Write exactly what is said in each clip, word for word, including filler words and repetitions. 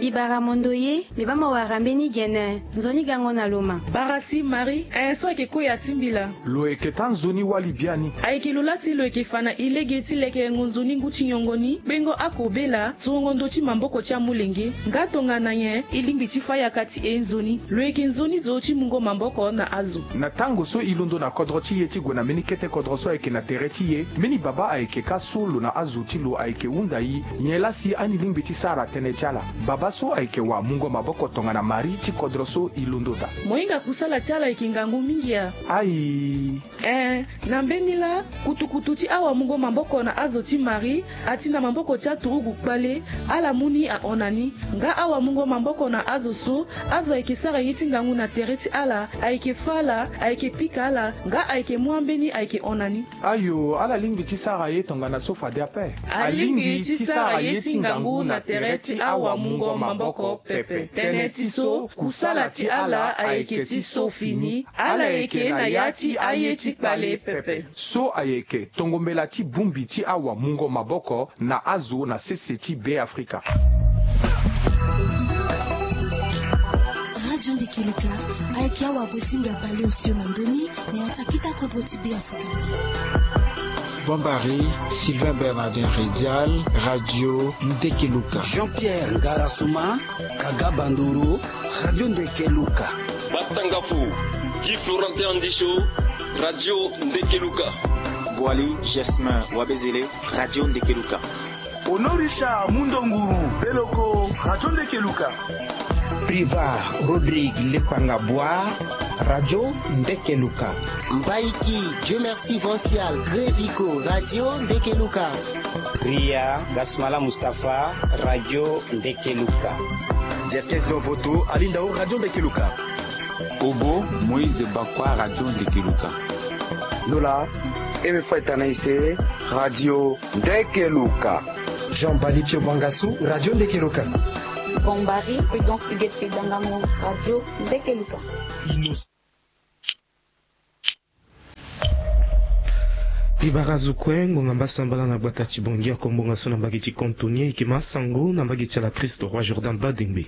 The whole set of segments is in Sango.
Ibara mondo ye, mbi baa mo wara mbeni gene. Nzoni gango na lo ma. Bara si Marie, eh, so ayeke koya ti mbila. Lo yeke taa nzoni wali biani. Ayeke lo laa si lo yeke fa na e lege ti lekerengo nzoni ngu ti nyongo ni, kpengo akobela, surongo ndö ti maboko ti amolenge. Nga tongana nyen e lingbi ti fâ yaka ti e nzoni? Lo yeke nzoni zo ti mungo maboko na azo. Na tango so e londo na kodro ti e ti gue na mbeni kete kodro so ayeke na tere ti e, mbeni babâ ayeke kâ so lo na azo ti lo ayeke hunda e. Nyen laa si ani lingbi ti sara tënë ti ala? Babâ so ayeke wamungo maboko tongana Marie ti kodro so e londo daa. Mo hinga kusala ti ala ayeke ngangu mingi a? Ayi. Eh, na mbeni laa, kutukutu ti awamungo maboko na azo ti Marie, ati na maboko ti aturugu kpale, ala mu ni ahon na ni. Nga awamungo maboko na azo so, azo ayeke sara ye ti ngangu na tere ti ala, ayeke fâ ala, ayeke pika ala, nga ayeke mu ambeni ayeke hon na ni. Ayo, ala lingbi ti sara ye tongana so fade ape. Alingbi ti sara ye ti ngangu na tere ti awamungo maboko pepe. Tënë ti so, kusala ti ala ayeke ti so fini. Ala yeke na ya ti aye ti kpale pepe. So ayeke tongo mbela ti bongbi ti awamungo maboko na azo na sese ti Beafrika. Radio Ndekeluka ayeke awagosinga baleosio na ndö ni na ya ti akita kodro ti Beafrika. Bombari, Sylvain Bernardin Redial, Radio Ndekeluka. Jean-Pierre Ngarasuma, Kaga Bandoro, Radio Ndekeluka. Batangafo, Guy Florentin Andisho, Radio Ndekeluka. Boali Jasmin Wabezele, Radio Ndekeluka. Honorisha Mundonguru Beloko, Radio Ndekeluka. Priva Rodrigue Lepanga Boa, Radio Ndekeluka. Mbaiki Dieu Merci Vancial Grevico, Radio Ndekeluka. Ria Gasmala Mustapha, Radio Ndekeluka. Jeskes Dovoto Alindao, Radio Ndekeluka. Obo Moïse Bakwa, Radio Ndekeluka. Lola Eme Faitana Ise, Radio Ndekeluka. Jean Bali Pio Bangasu, Radio Ndekeluka. Bombari Prudence Huguette Dangango, Radio Ndekeluka. Ibara zo kue, ngonga mbasambala na gbata ti Bangui akombonga so na mbage ti Cantonnier, e yeke ma sango na mbage ti ala Christ Roi Jordan Badengbe.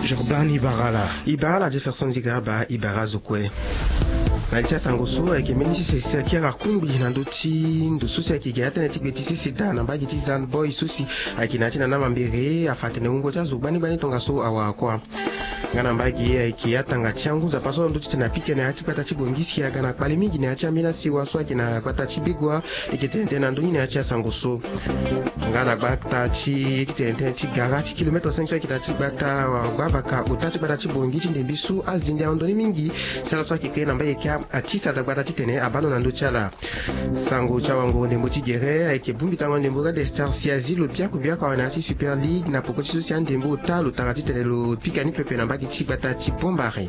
Jordan, ibara ala. Ibara ala Jefferson Zigarba, ibara zo kue. Na li ti asango so ayeke mbeni sese si ayeke ala kungbi na ndö ti ndo so si ayeke gi atënë ti gbe ti sese daa na mbage ti Zan Boy so si ayeke na ya ti na na mambere afa atene wungo ti azo gbani gbani tongaso awara kuâ. Nga na mbage ayeke atanga ti angu nzapa so na ndö ti tene apike na ya ti gbata ti Bangui si aga na kpale mingi na ya ti ambeni asewa so ayeke na gbata ti Begoua. E yeke tene tënë na ndö ni na ya ti asango so. Nga na gbata ti ye ti tene tënë ti gara ti kilometre cinq so ayeke na ya ti gbata gbavaka ota ti gbata ti Bangui ti ndembe so azende ahon ndoni mingi. Sala so ayeke kiri na mbage kia atisa daa gbata ti tene abaa ndo na ndö ti ala. Sango ti awango ndembo ti gere ayeke bongbi tango ndembo Red Star si azi lo biaku biaku awe na ya ti Super League na poko ti so si andembo ota lo tara titene lo pika ni pepe na mbage ti gbata ti Bombari.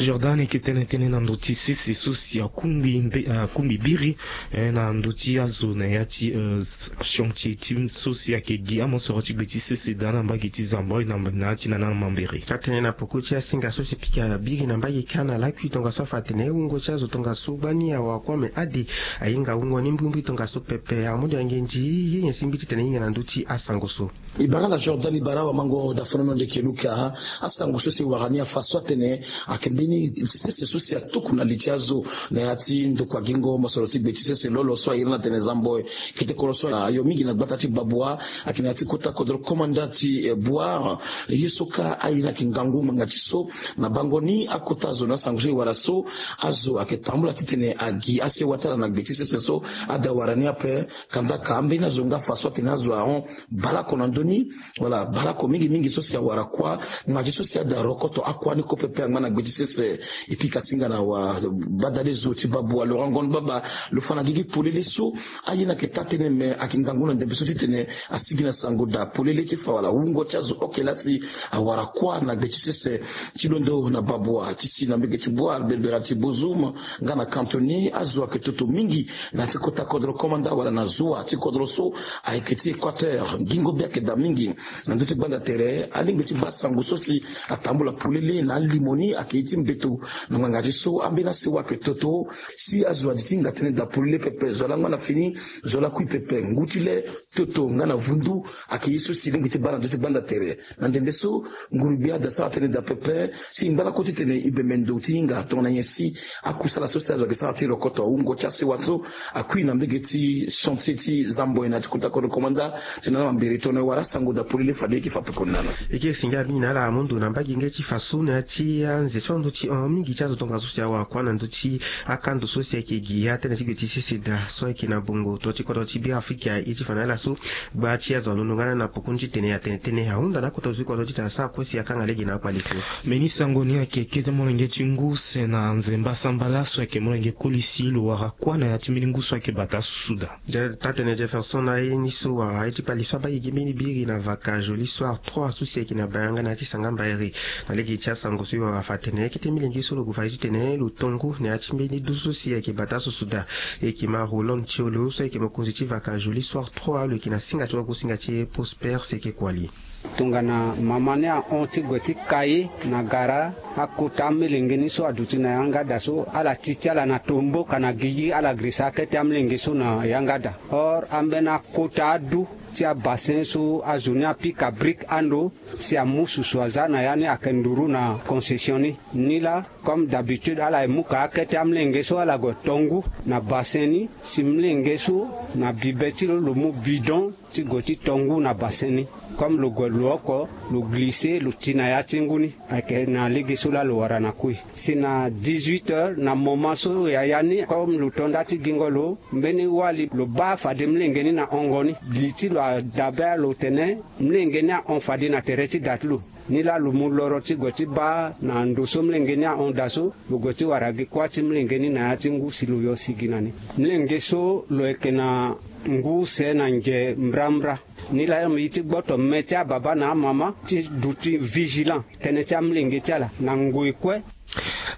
Jordan, e yeke tene tënë na ndö ti sese so si akungbi mbe, akungbi biri, eh, na ndö ti azo na ya ti, eh, chantier ti so si ayeke gi amosoro ti gbe ti sese daa na mbage ti Zan Boy na, na ya ti na na mambere. Atene na poko ti asinga so si pika biri na mbage kia na lakui tongaso afa atene wungo ti azo tongaso gbani awara kuâ me ade ahinga wungo ni mbrimbri tongaso pepe. Amondo ya ngenzi ye nyen si mbi titene hinga na ndö ti asango so. Ibara ala Jordan, ibara awamango dafonono Ndekeluka. Asango so si wara ni afa so atene ayeke mbeni sese so si atuku na li ti azo na ya ti ndokua gingo mosoro ti gbe ti sese lolo so ayere na tene Zan Boy. Kete koro so ayo mingi na gbata ti Baboua, ayeke na ya ti kota kodro komanda ti, eh, Bouar. Ye so kâ aye ni ayeke ngangu ngbanga ti so na bango ni akota zo na asango so e wara so. Azo ayeke tambula titene agi asewa ti ala na gbe ti sese so ade awara ni ape. Kandaka ambeni azo nga fa so atene azo ahon baleoko na ndö ni. Wala baleoko mingi mingi so si awara kuâ. Ngbanga ti so si ade arokoto akuâ ni kue pepe angba na gbe ti sese. E pika singa na wa badale zo ti Baboua Laurent Ngon Baba lo fa na gigi polele so aye ni ayeke taa tënë me ayeke ngangu na ndembe so titene asigi na sango daa polele ti fa wala wungo ti azo oke laa si awara kuâ na gbe ti sese. Ti londo na Baboua ti si na mbege ti Bouar, Belbera ti Bozoum, nga na Cantonnier, azo ayeke toto mingi na ya ti kota kodro komanda wala na zoa ti kodro so ayeke ti Équateur. Gingo be ayeke daa mingi na ndö ti gbanda tere. Alingbi ti baa sango so si atambula polele na alimo ni ayeke ye ti Beto na ngbanga ti so ambeni asewa ayeke toto. Si azo adi ti hinga tënë daa polele pepe, zo laa ngba na fini, zo laa kui pepe. Ngu ti le, toto nga na vundu ayeke ye so si lingbi ti baa na ndö ti gbanda tere. Na ndembe so, nguru-gbia ada sara tënë daa pepe si ngba lakue titene e bembe ndo ti hinga tongana nyen si akusala so si azo ayeke sara ti rokoto awungo ti asewa so akui na mbege ti chantier ti Zamboe na ti kota kodro komanda. Tena na mambere tongana e wara asango daa polele fade e yeke fa pekoni na ala. E yeke si nga mingi na ala amu ndo na mbage nge ti fa so na ya ti anze so ando ti hon mingi ti azo tongaso si awara kuâ na ndö ti akando so si ayeke gi atënë ti gbe ti sese daa so ayeke na bongo to ti kodro ti Beafrika. E ti fa na ala so gba ti azo alondo nga na na pokoni titene atene tënë ahunda na akota zo ti kodro titene asara kue si akanga lege na akpale so. Mbeni sango ni ayeke kete molenge ti ngu use na nzemba sambala so ayeke molenge koli si lo wara kuâ na ya ti mbeni ngu so ayeke bata susu daa. Taa-tënë Jefferson na ye ni so wara ye ti kpale so abaa gi gi mbeni biri na vaka Jolie Soir trois so si ayeke na bayanga na ya ti sanga mbairi. Na lege ti asango so e wara fa tene kete milenge so lo gue fa ye titene lo to ngu na ya ti mbeni du so si ayeke bata susu daa. E yeke ma Roland Tiolo so ayeke mokonzi ti vaka Jolie Soir trois, lo yeke na singa ti wagosinga ti e Prosper si ayeke kua li. Tongana mama ni ahon ti gue ti kai na gara, akota amolenge ni so aduti na yanga daa so ala ti ti ala na tomboka na gigi, ala girisa akete amolenge so na yanga daa. Or ambeni akota adu ti abasin so azo ni apika brique ando si amu susu aza na ya ni ayeke nduru na concession ni. Nilaa, comme d'habitude, ala ye mu ka akete amolenge so ala gue to ngu na basin ni. Si molenge so na bibe ti lo, lo mu bidon ti gue ti to ngu na basin ni. Comme lo gue lo oko, lo glisse, lo ti na ya ti ngu ni. Ayeke na lege so laa lo wara na kui. Si na dix-huit heures, na moment so yaya ni, comme lo to nda ti gingo lo, mbeni wali lo baa fade molenge ni na hongo ni. Li ti lo adabe lo tene molenge ni ahon fade na tere ti da ti lo. Nilaa lo mu loro ti gue ti baa na ndo so molenge ni ahon daa so, lo gue ti wara gi kuâ ti molenge ni na ya ti ngu si lo yo sigi na ni. Molenge so lo yeke na ngu use na nge mbrambra. Nilaa ye ti gboto me ti ababa na amama ti duti vigilant tënë ti amolenge ti ala na ngoi kue.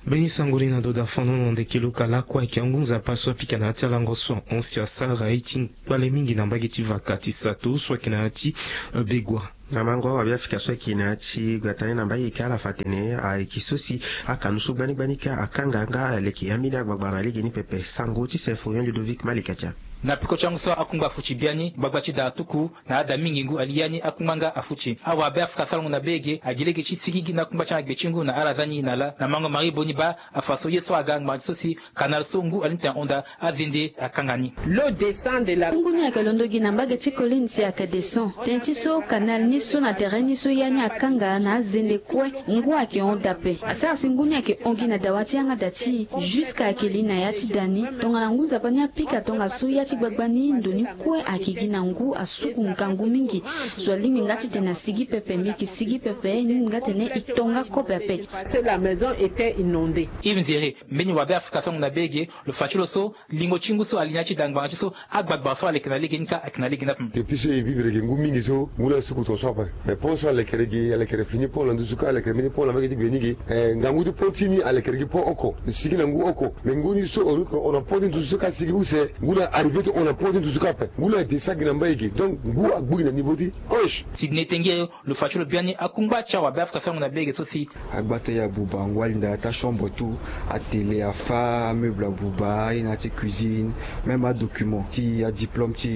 Mbeni sango ni na ndo daa fano na ndeke lo ka lakue ayeke angu nzapa so apika na ya ti alango so ahon si asara ye ti kpale mingi na mbage ti vaka ti sato so ayeke na ya ti, eh, Begua. Na mango awabe afrika so ayeke na ya ti gbata ni na mbage ka ala fa atene ayeke so si akanu so gbani gbani ka akanga nga aleke ambeni agbagba na lege ni pepe. Sango ti Symphorien Ludovic Malikatia. Na peko ti angu so akungba afuti biani gbagba ti da atuku na ada mingi ngu ali ya ni akungba nga afuti. Awabe afrika so alongo na bege agi lege ti sigigi na akungba ti agbe ti ngu na ala za ni na ala na mango Marie Boni baa afa so ye so aga ngbanga ti so si kanal so ngu ali ni tene ahon daa azende akanga ni. Lo descend de la. Ngu ni ayeke londo gi na mbage ti colline si ayeke descend. Tënë ti so kanal ni so na tere ni so ya ni akanga na azende kue. Ngu ayeke hon daa ape. Asara si ngu ni ayeke hon gi na dawa ti yanga daa ti e. Jusque ayeke li na ya ti da ni. Tongana ngu nzapa ni apika tongaso ya ti gbagba ni ndo ni kue ayeke gi na ngu asuku ngangu mingi. Zo alingbi nga titene asigi pepe, mbi yeke sigi pepe, e lingbi nga tene e to nga kobe ape. Parce que la maison était inondée. Yves Nzere, mbeni wabe afrika so amu na bege, lo fa ti lo so lingo ti ngu so ali na ya ti da ngbanga ti so agbagba so aleke na lege ni ka ayeke na lege ni ape. Depuis so e vivre ge ngu mingi so ngu ni asuku tongaso ape. Mais pont so alekere ge, alekere fini pont na nduzu ka, alekere mbeni pont na mbage ti gbe ni ge. Eh, ngangu ti pont ti ni alekere gi pont oko, sigi na ngu oko. Mais ngu ni so on a pont ti nduzu so ka sigi use, ngu ni arrivé ti on a pont ti nduzu ka ape. Ngu ni adescend gi na mbage ge. Donc ngu agbu gi na niveau ti hanche. Sidney Tengue, lo fa ti lo biani akungba ti awabe afrika so amu na bege so si. Agbata ya buba, ngu ali na ya ti achambre tout, atele, afa, ameuble ya buba, aye na ya ti cuisine, même adocument ti adiplôme ti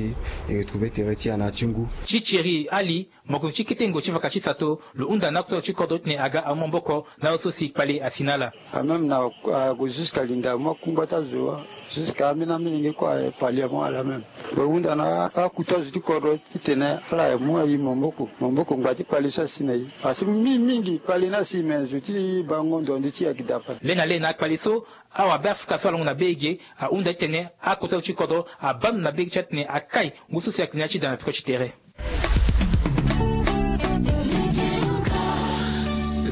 e, e retrouver tere ti e na ya ti ngu. Ti Thierry Ali, mokonzi ti kete ngo ti vaka ti sato, lo hunda na akota zo ti kodro titene aga amu maboko na azo so si kpale asi na ala. Ah, même na, ah, ague jusqu'à linda amu akungba ti azo, jusqu'à ambeni amolenge kue aye pali amu ala même. Lo hunda na akota zo ti kodro titene ala ye mu aye maboko, maboko ngba ti kpale so asi na e. Asi mingi mingi kpale ni asi, mais zo ti bango ndo ndo ti e ayeke daa ape. Le na le na akpale so, awabe afrika so alongo na bege ahunda titene akota zo ti kodro abaa ndo na bege ti atene akai ngu so si ayeke na ya ti da na peko ti tere.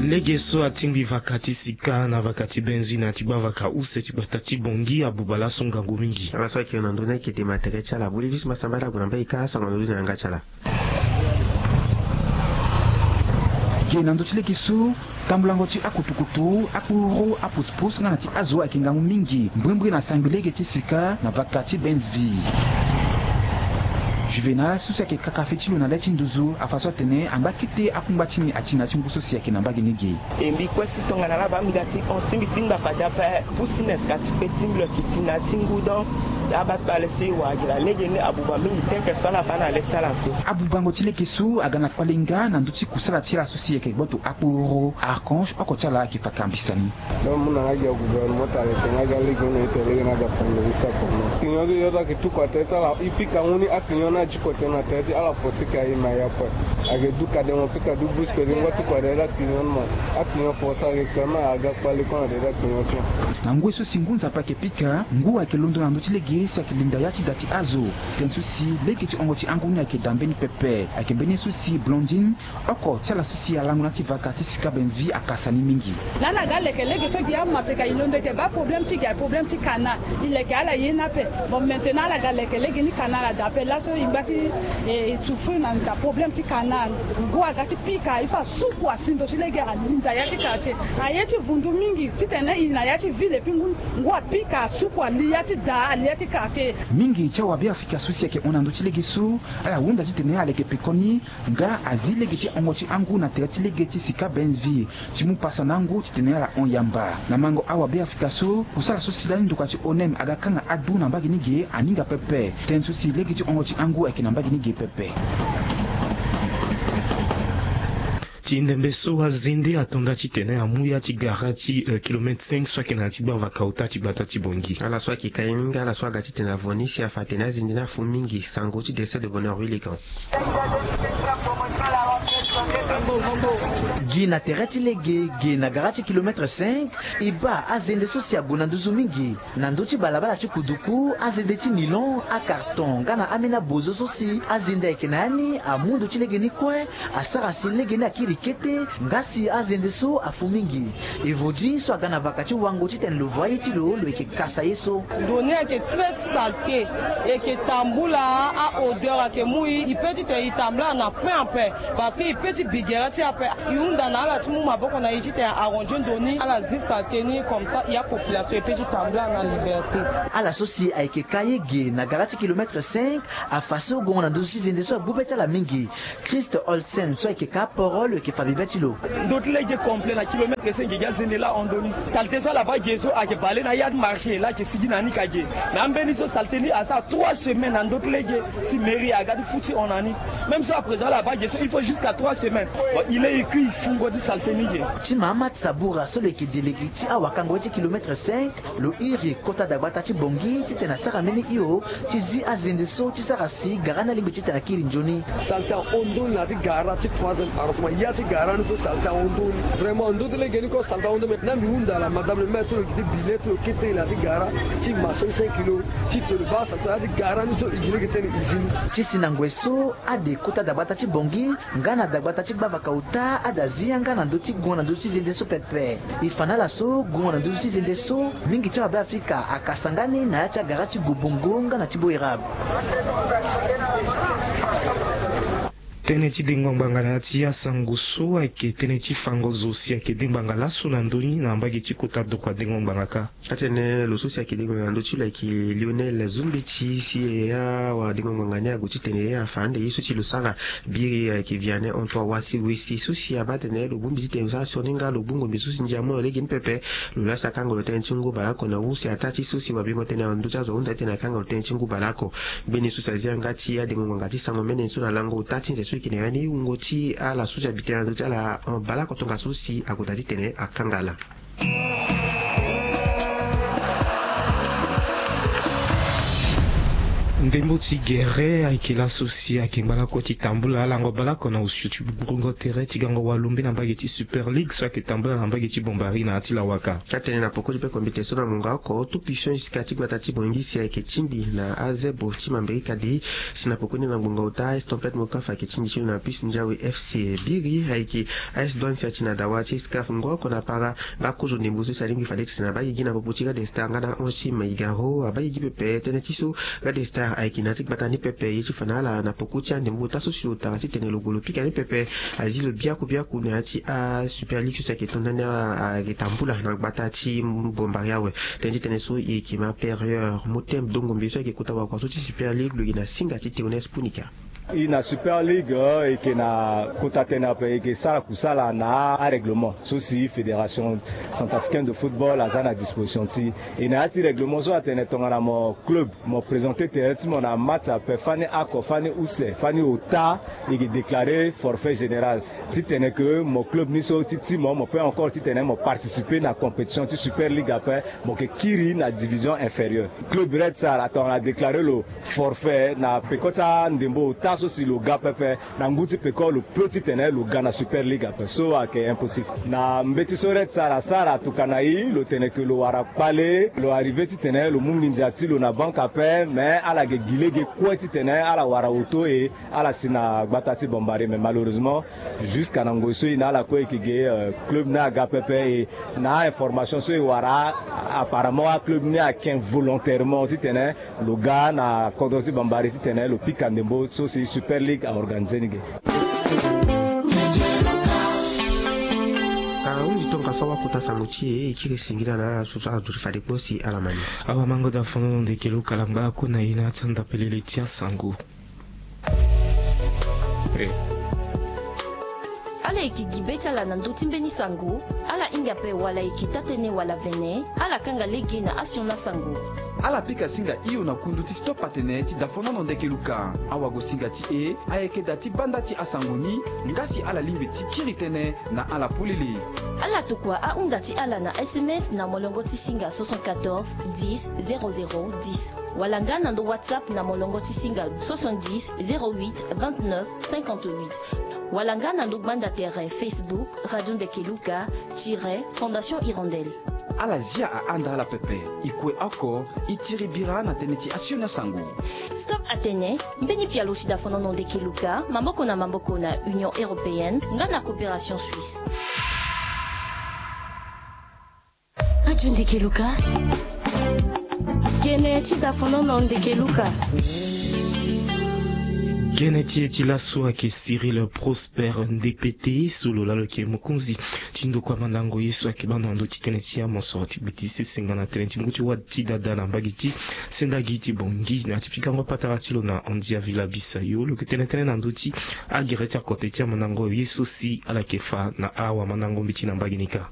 Lege so atingbi vaka ti sika na vaka ti Benzui na ya ti gbavaka use ti gbata ti Bangui abuba laso ngangu mingi. Ala so ayeke na ndö ni ayeke dema tere ti ala. Bolivis Masamba ala gue na mbage ka asango na ndö ni na yanga ti ala. Ge na ndö ti lege so, tambulango ti akutukutu, akpuru, apusupus nga na ti azo ayeke ngangu mingi mbrimbri na sangbi lege ti sika na vaka ti Benzui. Juvénal so si ayeke kaka fê ti lo na le ti nduzu afa so atene angba kete akungba ti ni ati na ya ti ngu so si ayeke na mbage ni ge. E mbi kue si tongana laa baa mbi ga ti hon si mbi kpingba fade ape. Pusi ne si ka ti pe ti mbi lo yeke ti na ya ti ngu donc. Abaa kpale so e wara gi laa legeni abuba mingi teke so ala baa na le ti ala so. Abubango ti lege so aga na kpale nga na ndö ti kusala ti ala so si ayeke gboto akporo Archange oko ti ala ayeke fa kambisa ni. Nda mu na nga gi agouvernement tara ete nga ga lege ni ete lege ni aga fande ni sa koma. Client ti yo ti ayeke tuku atene ti ala e pika ngu ni aclient ni aji kote na tere ti ala force ka e ma ya kue. Ayeke du kadengo pika du brusque ti ngba tuku atene ti aclient ni ma. Aclient force ayeke kue ma aga kpale kue na tere ti aclient ti. Na ngoi so si ngu nzapa ayeke pika ngu ayeke londo na ndö ti lege si ayeke linda ya ti da ti azo. Tënë so si lege ti hongo ti angu ni ayeke da mbeni pepe ayeke mbeni so si Blondine oko ti ala so si alango na ya ti vaka ti Sika Benz Vie akasa ni mingi. Lani aga leke lege so gi amaseka e londo ete baa problème ti gi aye problème ti canal. E leke ala ye ni ape. Bon, maintenant ala ga leke lege ni canal ada ape laso e ngba ti e souffrir na nda problème ti canal. Ngu aga ti pika il faut asuku asi ndo ti lege alinda ya ti quartier. Aye ti vundu mingi titene e na ya ti ville epui ngu ngu apika asuku ali ya ti da ali ya ti quartier. Mingi ti awabe afrika so si ayeke hon na ndö ti lege so ala hunda titene ala yeke pekoni nga azi lege ti hongo ti angu na tere ti lege ti Sika Benz Vie ti mu pasa na angu titene ala hon yamba. Na mango awabe afrika so kusala so si lani nduka ti onem aga kanga adu na mbage ni ge aninga pepe. Tënë so si lege ti hongo ti angu ayeke na mbage ni ge pepe. Ti ndembe so azende ato nda titene amu ya ti gara ti kilomètre cinq so ayeke na ya ti gbavaka ota ti gbata ti Bangui. Ala so ayeke ka ye ni nga ala so aga titene avo ni si afa atene azende ni afu mingi. Sango ti décès de bonheur wiligan. Gi na tere ti lege ge na gara ti kilomètre cinq. E baa azende so si ague na nduzu mingi na ndö ti balabala ti kuduku, azende ti nilon, acarton nga na ambeni abozo so si azende ayeke na ya ni amu ndo ti lege ni kue. Asara si lege ni akiri kete nga si azende so afu mingi. Evodi so aga na vaka ti wango titene lo voa ye ti lo lo yeke kasa ye so. Ndo ni ayeke très saleté. E yeke tambula. A-odeur ayeke mu e. E peut titene e tambula na pin ape. Parce que e peut ti bi gere ti e ape. E hunda na ala ti mu maboko na e titene e arranger ndo ni ala zi saleté ni comme ça e apopulation e peut ti tambula na liberté. Ala so si ayeke ka ye ge na gara ti kilomètre cinq. Afa so gongo na ndo so ti zende so agbu be ti ala mingi. Christ Olsen so ayeke ka aporo lo yeke fa bibe ti lo. Ndo ti lege complet na kilomètre cinq gi azende laa hon ndo ni. Saleté so ala baa ge so ayeke bale na ya ti marché laa ayeke sigi na ni ka ge. Na ambeni so saleté ni asara trois semaines na ndo ti lege. Si mairie aga ti fu ti hon na ni. Même so à présent ala baa ge so il faut jusqu'à trois semaines. Bon il est écrit fungo ti saleté ni ge. Ti Mahamat Saboura so lo yeke délégué ti awakango ye ti kilomètre cinq. Lo iri kota dagbata ti Bangui titene asara mbeni hio ti zi azende so ti sara si gara ni alingbi titene akiri nzoni. Saleté ahon ndo ni na ya ti gara ti troisième arrondissement ya ti gara ni so saleté ahon ndo ni. Vraiment ndo ti lege ni kue saleté ahon ndo mais na mbi hunda ala madame le maire ti lo gi ti bi le ti lo kete na ya ti gara ti marché ni cinq kilo ti tene baa saleté ya ti gara ni so e gi lege tene e zi ni. Ti si na ngoi so ade kota dagbata ti Bangui nga na dagbata ti gbavaka ota ada zi yanga na ndö ti gongo na ndö ti zende so pepe. E fa na ala so gongo na ndö ti zende so mingi ti awabe afrika akasa nga ni na ya ti agara ti gobongo nga na ti boirab. Tënë ti dengo ngbanga na ya ti asango so ayeke tënë ti fango zo si ayeke de ngbanga laso na ndö ni na mbage ti kota doko adengo ngbanga kâ. Atene lo so si ayeke dengo na ndö ti lo ayeke Lionel Zumbeti si e ya awadengo ngbanga ni ague titene e afa ande ye so si lo sara. Biri ayeke Vianney Antoine Wasi Wesi so si abaa atene lo bongbi titene lo sara sioni nga lo gbu ngombe so si ndia amu na lo lege ni pepe. Lo laa si akanga lo tënë ti ngu baleoko na use ataa ti so si wabingo tënë na ndö ti azo ahunda titene akanga lo tënë ti ngu baleoko. Mbeni so si azi yanga ti adengo ngbanga ti sango mene so na lango ota ti nze so e yeke na ya ni wungo ti ala so si abi tënë na ndö ti ala baleoko tongaso si ague daa titene akanga ala. Ndembo ti gere ayeke laso si ayeke ngba lakue ti tambula alango baleoko na osio ti gburungo tere ti gango walombe na mbage ti Super League so ayeke tambula na mbage ti Bombari na ya ti lawaka. Atene na poko ti peko mbete so na ngonga oko tout puissant jusqu'à ti gbata ti Bangui si ayeke tingbi na azebo ti Mambrika di si na poko ni na ngonga ota AS Tempête Mokafa ayeke tingbi ti lo na puce Ndiawe FC. Biri ayeke AS Douane si ati na dawa ti SCAF ngo oko na para. Nga kozo ndembo so si alingbi fade titene abaa gigi na popo ti Red Star nga na ange ti Maigaro abaa gigi pepe tënë ti so Red Star Ayeke na ya ti gbata ni pepe ye ti fa na ala na poko ti andembo ota so si lo tara titene lo gue lo pika ni pepe. Azi lo biaku biaku na ya ti a Super League so si ayeke to ndani ayeke tambula na gbata ti Bombari awe. Tënë ti tënë so e yeke ma Perieur Motem Dongombe so ayeke kota wakua so ti Super League, lo yeke na singa ti Théoneste Punika. E na Super League, e yeke na kota tënë ape, e yeke sara kusala na arèglement so si Fédération Centrafricaine de Football aza na disposition ti e. Na ya ti règlement so atene tongana mo club mo présenter terrain ti mo na match ape, fani oko, fani use, fani ota, e yeke déclarer forfait général. Titene ke mo club ni so ti ti mo, mo peut encore titene mo participer na compétition ti Super League ape, mo yeke kiri na division inférieure. Club Red Star atongana adéclarer lo forfait na peko ti andembo ota so si lo ga pepe, na ngu ti peko lo peut titene lo ga na Super League ape. So ayeke impossible. Na mbeti so Red Star asara tokana e, lo tene ke lo wara kpale, lo arriver titene lo mu nginza ti lo na banque ape, mais ala yeke gi lege kue titene ala wara oto e ala si na gbata ti Bombari. Mais malheureusement, jusqu'à na ngoi so e na ala kue e yeke ge, euh, club ni aga pepe. E na information so e wara, apparemment aclub ni ayeke volontairement titene lo ga na kodro ti Bombari titene lo pika ndembo so si Super League a organiser ni ge. Ahunzi tongaso awakota sango ti e, e kiri singila na ala so so ala duti fade kpo si ala ma ni. Awamango dafono na ndeke lo kalamba akuna e na ya ti andapelele ti asango. Ala yeke gi be ti ala na ndö ti mbeni sango. Ala hinga ape wala e yeke taa-tënë wala vene, ala kanga lege na asioni asango. Ala pika singa hio na kundu ti Stop Atene ti dafonono ndeke luka. Awagosinga ti e ayeke da ti banda ti asango ni, nga si ala lingbi ti kiri tënë na ala polele. Ala tokua ahunda ti ala na S M S na molongo ti singa soixante-quatorze dix zéro zéro dix, wala nga na ndo WhatsApp na molongo ti singa soixante-dix zéro huit vingt-neuf cinquante-huit, wala nga na ndo gbanda tere Facebook Radio Ndeke Luka tiret Fondation Hirondelle. Ala zia ahanda ala pepe. E kue oko, e tiri bira na tënë ti asioni asango. Stop Atene, mbeni pialo ti dafonono ndeke luka, maboko na maboko na Union Européenne nga na Coopération Suisse. Radio Ndeke Luka. Gene ti dafonono ndeke luka. Gene ti e ti laso ayeke Cyril Prosper Ndepete, so lo laa lo yeke mokonzi ti ndokua mandango ye so ayeke bando na ndö ti tënë ti amosoro ti gbe ti sese nga na tënë ti ngu ti wâ ti dada na mbage ti sendagi ti Bangui. Na ya ti pikango patara ti lo na Andia Villa Bisayo, lo yeke tene tënë na ndö ti agere ti akote ti amandango ye so si ala yeke fa na awamandango mbeti na mbage ni kâ.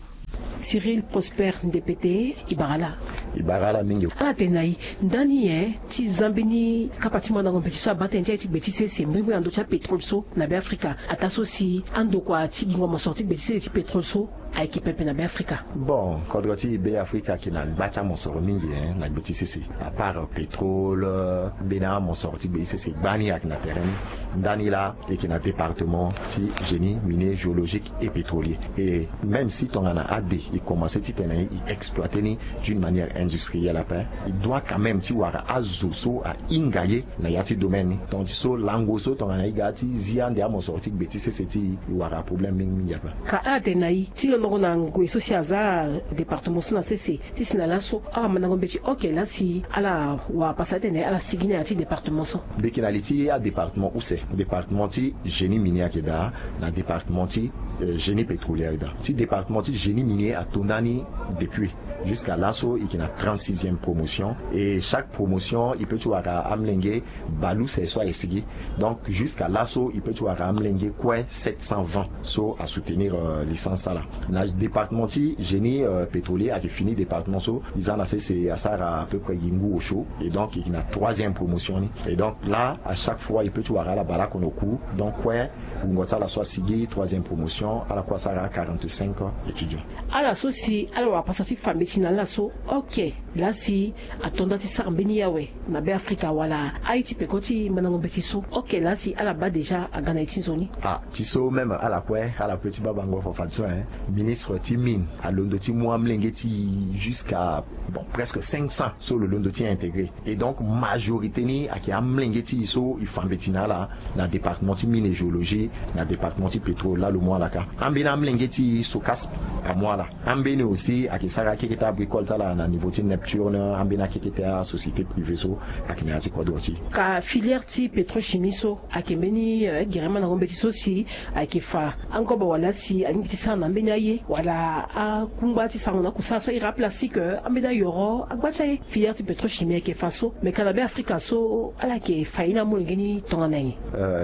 Cyril Prosper Ndepete, e bara laa. E bara laa mingi. Ala tene na e, ndani nyen ti za mbeni kapa ti mandango mbeti so abaa tënë ti aye ti gbe ti sese mbrimbri na ndö ti apétrole so na Beafrika, ataa so si andokua ti gingo mosoro ti gbe ti sese ti pétrole so ayeke pepe na Beafrika? Bon, kodro ti Beafrika ayeke na gba ti amosoro mingi, hein, na gbe ti sese. À part pétrole, mbeni amosoro ti gbe ti sese gbani ayeke na tere ni. Ndani laa e yeke na département ti génie minier, géologique et pétrolier. Et même si tongana ade e commencer titene e exploiter ni d'une manière industrielle ape, e doit quand même ti wara azo so ahinga ye na ya ti domaine ni. Tonga ti so lango so tongana e ga ti zi ande amosoro ti gbe ti sese ti e, e wara problème mingi mingi ape. Ka ala tene na e ti londongo na ngoi so si aza département so na sese, ti si na laso awamandango mbeti oke laa si ala wara pasa atene ala sigi na ya ti département so. Mbi yeke na li ti adépartement use. Département ti génie minier ayeke daa, na département ti, euh, génie pétrolier ayeke daa. Ti département ti génie minier ato ndani depuis. Jusqu'à laso e yeke na trente-sixième promotion. Et chaque promotion e peut ti wara amolenge bale use so ayeke sigi. Donc jusqu'à laso e peut ti wara amolenge kue sept cent vingt so asoutenir, euh, licence ala. Na département ti génie, euh, pétrolier ayeke fini département so, e za na sese asara à peu près gi ngu osio. Et donc e yeke na troisième promotion ni. Et donc là, à chaque fois e peut ti wara ala baleoko na oku. Donc kue wungo ti ala so asigi troisième promotion, ala kue asara quarante-cinq étudiants. Ala so si ala wara pasa ti fa mbeti na ala so, oke laa si ato nda ti sara mbeni ye awe na Beafrika wala aye ti peko ti mandango mbeti so, oke laa si ala baa déjà aga na ye ti nzoni? Ah, ti so même ala kue, ala peut ti baa bango fafadeso, hein. Ministre ti mine alondo ti mu amolenge ti e jusqu'à, bon, presque cinq cents so lo londo ti intégrer. Et donc majorité ni ayeke amolenge ti e so e fa mbeti na ala na département ti mine et géologie, na département ti pétrole laa lo mu ala kâ. Ambeni amolenge ti e SOCASP amu ala. Ambeni aussi ayeke sara akeke ti abricole ti ala na niveau ti NEP. Turne ambeni akekete asociété privée so ayeke na ya ti kodro ti. Ka filière ti pétrole chimie so ayeke mbeni gere mandango mbeti so si ayeke fa angoba wala si alingbi ti sara na ambeni aye wala akungba ti sarango na akusala so aye ira aplastique, ambeni ayoro agba ti aye. Filière ti pétrole chimie ayeke fa so me ka na be afrika so ala yeke fa ye ni amolenge ni tongana nyen?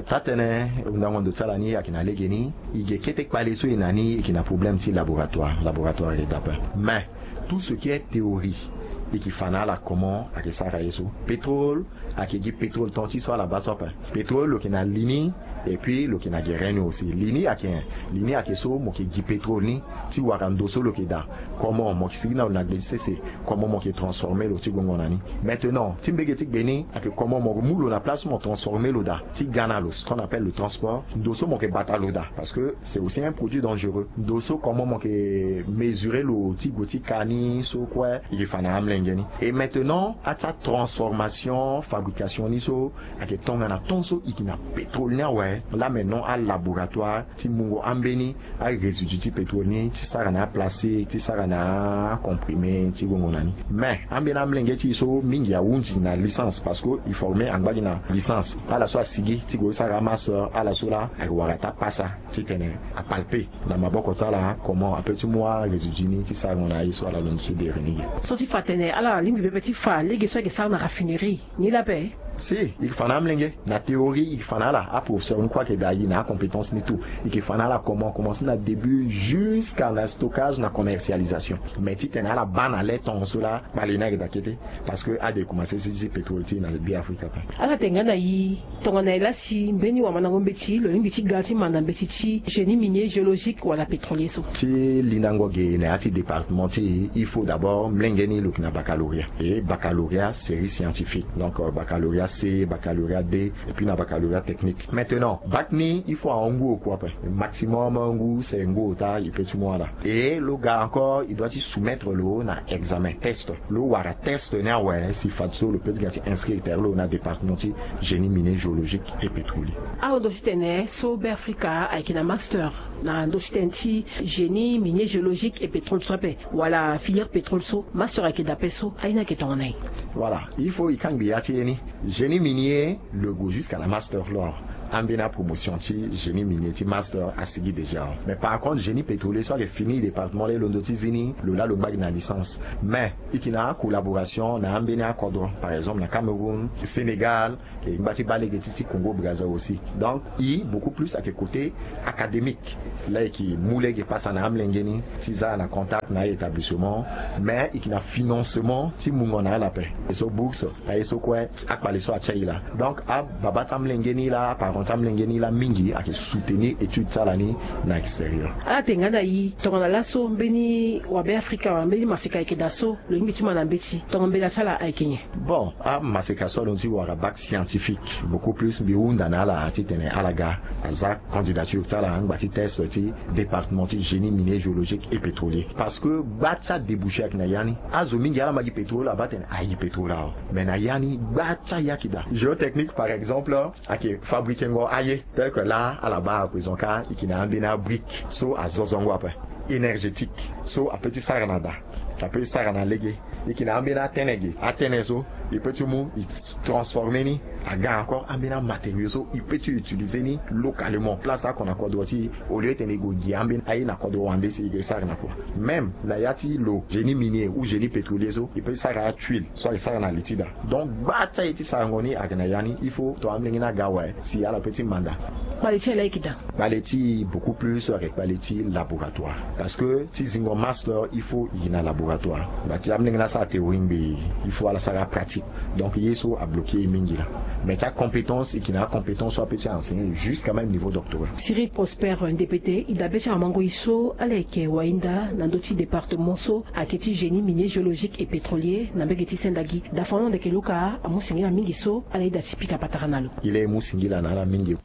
Taa-tënë, ndango ndo ti ala ni ayeke na lege ni. E ge kete kpale so e na ni e yeke na problème ti laboratoire laboratoire ayeke dape. Mais tout ce qui est théorie e yeke fa na ala comment ayeke sara ye so. Pétrole ayeke gi pétrole ton ti so ala baa so ape. Pétrole lo yeke na li ni. Et puis lo yeke na gere ni aussi li ni ayeke nyen? Li ni ayeke so mo yeke gi pétrole ni ti wara ndo so lo yeke daa. Comment mo yeke sigi na lo na gbe ti sese? Comment mo yeke transformer lo ti gongo na ni? Maintenant ti mbege ti gbe ni ayeke comment mo mu lo na place mo transformer lo daa ti ga na lo, ce qu'on appelle le transport. Ndo so mo yeke bata lo daa parce que c'est aussi un produit dangereux. Ndo so comment mo yeke mesurer lo ti gue ti ka ni so kue e yeke fa na amolenge ni. Et maintenant ati atransformation fabrication ni so ayeke tongana ton so e yeke na pétrole ni awe. Là maintenant alaboratoire ti mungo ambeni arésidu ti pétrole ni ti sara na aplastique ti sara na acomprimé ti gongo na ni. Mais ambeni amolenge ti e so mingi ahunzi na licence parce que e former angba gi na licence. Ala so asigi ti gue ti sara amaster ala so laa ayeke wara taa pasa titene apalpe na maboko ti ala comment ape ti mu arésidu ni ti sarango na aye so ala londo ti dere ni ge. So ti fa atene ala lingbi pepe ti fa lege so ayeke sara na raffinerie ni laa ape. Si e yeke fa na amolenge na théorie e yeke fa na ala. Aprofesseur ni kue ayeke daa e na acompétence ni tout. E yeke fa na ala comment commencer na début jusqu'à na stockage na commercialisation. Mais titene ala baa na le temps so laa kpale ni ayeke daa kete. Parce que ade e commencer si ti pétrole ti e na be afrika ape. Ala tene nga na e tongana e laa si mbeni wamandango mbeti lo lingbi ti ga ti manda mbeti ti génie minier géologique wala pétrolier so? Ti lindango ge na ya ti département ti e il faut d'abord molenge ni lo yeke na baccalauréat et baccalauréat série scientifique. Donc baccalauréat c, baccalauréat d, et puis na baccalauréat technique. Maintenant bac ni il faut ahon ngu oku ape. Maximum ngu se ngu ota e peut ti mu ala. Et lo ga encore e doit ti soumettre lo na examen test. Lo wara test ni awe si fadeso lo peut ti ga ti inscrire tere lo na département ti génie minier géologique et pétrolier. Ahon ndo ti tene so be afrika ayeke na master na ndo ti tene ti génie minier géologique et pétrole so ape wala filière pétrole so master ayeke dape so aye ni ayeke tongana nyen? Voilà il faut e kangbi ya ti ye ni. Génie minier lo gue jusqu'à na master lo awe. Ambeni apromotion ti génie minier ti master asigi déjà awe. Mais par contre génie pétrolier so ayeke fini département laa e londo ti zi ni lo laa lo ngba gi na licence. Mais e yeke na acollaboration na ambeni akodro par exemple na cameroun, sénégal, e ngba ti baa lege ti ti congo brazza aussi. Donc e beaucoup plus ayeke côté académique. Laa e yeke mu lege pasa na amolenge ni ti za na contact na a-établissement. Mais e yeke na financement ti mungo na ala ape. E so bourse aye so kue akpale so atia e laa. Donc ababa ti amolenge ni laa aparent ti amolenge ni laa mingi ayeke soutenir étude ti ala ni na extérieur. Ala tene nga na e tongana laso mbeni wabe afrika wala mbeni maseka ayeke daa so lo lingbi ti ma na mbeti tongana mbela ti ala ayeke nyen? Bon amaseka so alondo ti wara bac scientifique beaucoup plus mbi hunda na ala titene ala ga aza candidature ti ala angba ti test ti département ti génie minier géologique et pétrolier. Parce que gba ti adéboucher ayeke na ya ni. Azo mingi ala ma gi pétrole abaa tene ayi pétrole awe. Mais na ya ni gba ti aye ayeke daa géotechnique par exemple ayeke fabrikengo aye. Tel que laa ala baa à présent ka e yeke na ambeni abrique so azozongo ape énergétique so ape ti sara na daa ape ti sara na lege. E yeke na ambeni atene ge atene so e peut ti mu e transformer ni aga encore ambeni amatériaux so e peut ti utiliser ni localement place oko na kodro ti e. Au lieu tene e gue gi ambeni aye na kodro wande si e ke sara na kua. Même na ya ti lo génie minier ou génie pétrolier so e peut ti sara atuile so ayeke sara na li ti daa. Donc gba ti aye ti sarango ni ayeke na ya ni il faut to amolenge ni aga awe si ala peut ti manda. Kpale ti ala ayeke daa. Kpale ti beaucoup plus so ayeke kpale ti laboratoire. Parce que ti zingo master il faut e yeke na laboratoire. Ngba ti amolenge ni asara théorie ngbii il faut ala sara pratique. Donc ye so abloquer e mingi laa. Mais ti acompétence e yeke na acompétence so ape ti enseigner jusqu'à même niveau doctorat. Cyril prosper ndepete e dabe ti awamango e so ala yeke wahinda na ndö ti département so ayeke ti génie minier géologique et pétrolier na mbege ti sendagi. Dafango ndeke luka amu singila mingi so ala yeda ti pika patara na lo. E le e mu singila na ala mingi.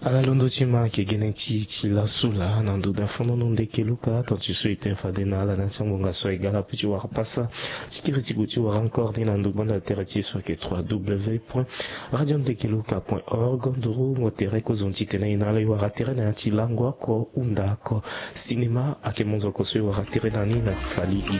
Ala londo ti ma ayeke gene ti e ti lasu laa na ndo dafango ndeke luka tonga ti so e tene fade na ala na ya ti angbonga so aye ga ala pe ti wara pasa ti kiri ti gue ti wara encore ni na ndo gbanda tere ti e so ayeke trois w point radio ndeke luka point org nduru ngo tere kozoni titene e na ala e wara tere na ya ti lango oko hunda oko. Sinema ayeke monzoko so e wara tere na ni na fali e.